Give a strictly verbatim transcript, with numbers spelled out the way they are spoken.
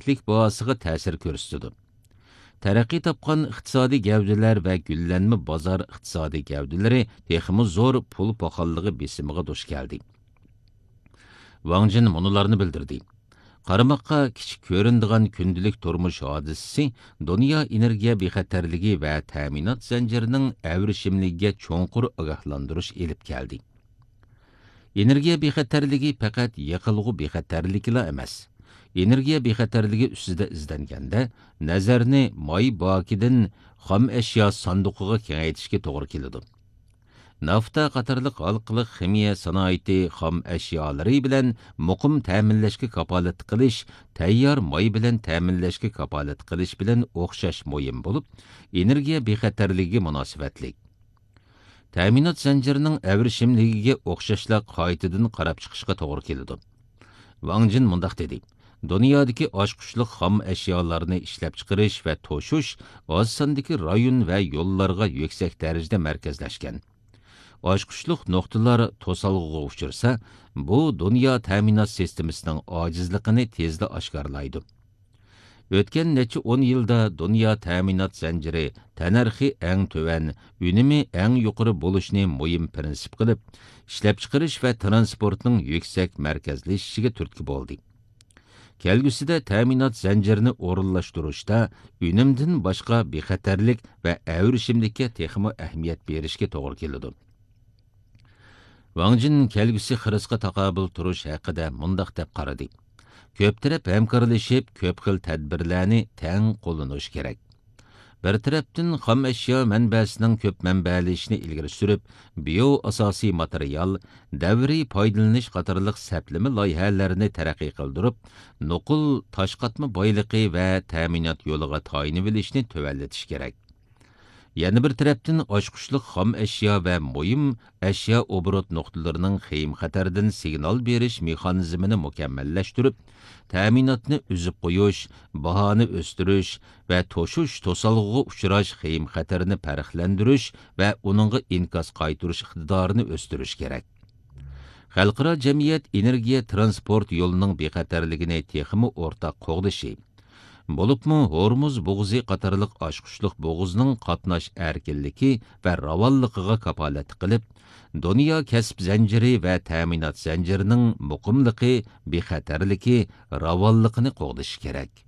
كىچىكلىك باھاسىغا تەسىر كۆرسىتىدۇ. تەرەققىي تاپقان ئىقتىسادىي گەۋدىلەر ۋە گۈللەنمە بازار ئىقتىسادىي گەۋدىلىرى تېخىمۇ زور پۇل پاخاللىقى بېسىمىغا دۇچ كەلدى. ۋاڭ جىن مۇنۇلارنى بىلدۈردى: قارىماققا كىچىك كۆرۈنىدىغان كۈندىلىك تۇرمۇش ھادىسىسى دۇنيا ئېنېرگىيە بىخەتەرلىكى ۋە تەمىنات زەنجىرىنىڭ ئەۋرىشىملىكىگە چوڭقۇر ئاگاھلاندۇرۇش ئېلىپ كەلدى. ئېنېرگىيە بىخەتەرلىكى پەقەت يېقىلغۇ بىخەتەرلىكىلا ئەمەس. ئېنېرگىيە بىخەتەرلىكى ئۈستىدە ئىزدەنگەندە، نەزەرنى ماي باكىدىن خام ئەشيا ساندۇقىغا كېڭەيتىشكە توغرا كېلىدۇ. نافتا قاتارلىق ھالقىلىق خىمىيە سانائىتى خام ئەشيالىرى بىلەن مۇقىم تەمىنلەشكە كاپالەتلىك قىلىش تەييار ماي بىلەن تەمىنلەشكە كاپالەتلىك قىلىش بىلەن ئوخشاش مۇھىم بولۇپ، ئېنېرگىيە بىخەتەرلىكىگە مۇناسىۋەتلىك. تەمىنات زەنجىرىنىڭ ئەۋرىشىملىكىگە ئوخشاشلا قايتىدىن قاراپ چىقىشقا توغرا كېلىدۇ. ۋاڭ جىن مۇنداق دېدى: دۇنيادىكى ئاچقۇچلۇق خام ئەشيالارنى ئىشلەپچىقىرىش ۋە توشۇش ئاز ساندىكى رايون ۋە يوللارغا يۈكسەك دەرىجىدە مەركەزلەشكەن. ئاچقۇچلۇق نۇقتىلار توسالغۇغا ئۇچرىسا، بۇ دۇنيا تەمىنات سىستېمىسىنىڭ ئاجىزلىقىنى تېزلا ئاشكارىلايدۇ. ئۆتكەن نەچچە ئون يىلدا دۇنيا تەمىنات زەنجىرى تەننەرخى ئەڭ تۆۋەن، ئۈنۈمى ئەڭ يۇقىرى بولۇشنى مۇھىم پىرىنسىپ قىلىپ، ئىشلەپچىقىرىش ۋە تىرانسپورتنىڭ يۈكسەك مەركەزلىشىشىگە تۈرتكە بولدى. كەلگۈسىدە تەمىنات زەنجىرىنى ئورۇنلاشتۇرۇشتا ئۈنۈمدىن باشقا بىخەتەرلىك ۋە ئەۋرىشىملىككە تېخىمۇ ئەھمىيەت بېرىشكە توغرا كېلىدۇ. ۋاڭ جىن كەلگۈسى خىرىسقا تاقابىل تۇرۇش ھەققىدە مۇنداق دەپ قارىدى: كۆپ تەرەپ ھەمكارلىشىپ، كۆپ خىل تەدبىرلەرنى تەڭ قوللىنىش كېرەك. بىر تەرەپتىن، خام ئەشيا مەنبەسىنىڭ كۆپ مەنبەلىشىشىنى ئىلگىرى سۈرۈپ، بىيو ئاساسىي ماتېرىيال، دەۋرىي پايدىلىنىش قاتارلىق سەپلىمە لايىھەلىرىنى تەرەققىي قىلدۇرۇپ، نوقۇل تاش قاتما بايلىقى ۋە تەمىنات يولىغا تايىنىۋېلىشنى تۆۋەنلىتىش كېرەك. يەنە بىر تەرەپتىن، ئاچقۇچلۇق خام ئەشيا ۋە مۇھىم ئەشيا ئوبوروت نۇقتىلىرىنىڭ خېيىم خەتەردىن سىگنال بېرىش مېخانىزمىنى مۇكەممەللەشتۈرۈپ، تەمىناتنى ئۈزۈپ قويۇش، باھانى ئۆستۈرۈش ۋە توشۇش توسالغۇغا ئۇچراش خېيىم خەتىرىنى پەرقلەندۈرۈش ۋە ئۇنىڭغا ئىنكاس قايتۇرۇش ئىقتىدارىنى ئۆستۈرۈش كېرەك. خەلقئارا جەمئىيەت ئېنېرگىيە تىرانسپورت يولىنىڭ بىخەتەرلىكىنى تېخىمۇ ئورتاق قوغدىشى، بولۇپمۇ ھورمۇز بوغۇزى قاتارلىق ئاچقۇچلۇق بوغۇزنىڭ قاتناش ئەركىنلىكى ۋە راۋانلىقىغا كاپالەتلىك قىلىپ، دۇنيا كەسىپ زەنجىرى ۋە تەمىنات زەنجىرىنىڭ مۇقىملىقى، بىخەتەرلىكى، راۋانلىقىنى قوغدىشى كېرەك.